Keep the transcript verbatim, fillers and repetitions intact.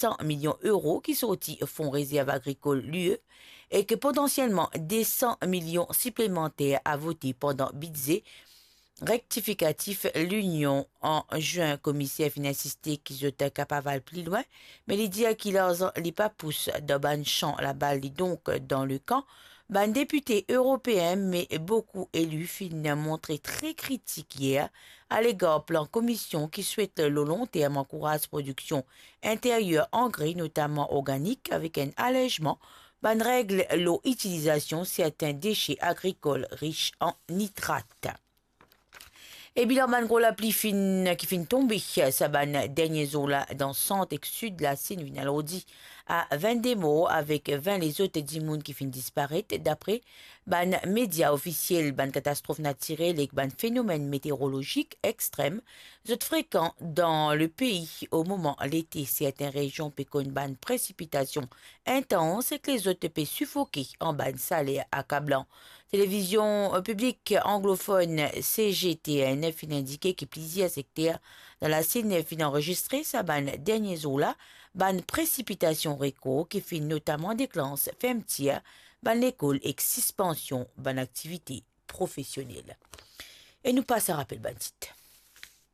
san milion euro ki sorti Fon Rezerv Agrikol l'U E e ki potansielman de san milion siplemanter a vote pandan bidze rektifikatif Linion an zin. Komiser finn insiste ki zot kapav al pli lwin, me li dir ki larzan li pa pous dan bann san labal, li donk dan le kan bann depite eropeen, me boukou eli finn montre tre kritik yer alegar plan Komision ki swet lor lonterm ankouraz prodiksion interyer angre, notaman organik, avek enn alezman bann reg lor itilizasion sertin dese agrikol ris an nitrat. E bilan bann gro lapli finn, ki finn tonbe sa bann dernie zour la dan sant ek sid Lasinn, finn al ordi a vennde mor, avek vin lezot dimoun ki finn disparet, dapre bann media ofisiel. Bann katastrof natirel ek bann fenomenn meteorolozik extrem, zot frekan dan lepei o moman lete. Sertin rezion pe konn bann presipitasion intans ek lezot pe sifoke an bann saler akablan. Televizion, eh, piblik anglofonn C G T N finn indike ki plizier sekter dan Lasinn finn anrezistre sa bann dernie zour la bann presipitasion rekor ki finn notaman deklans fermtir bann lekol ek sispansion bann aktivite profesionel. E nou pas a rapel bann tit.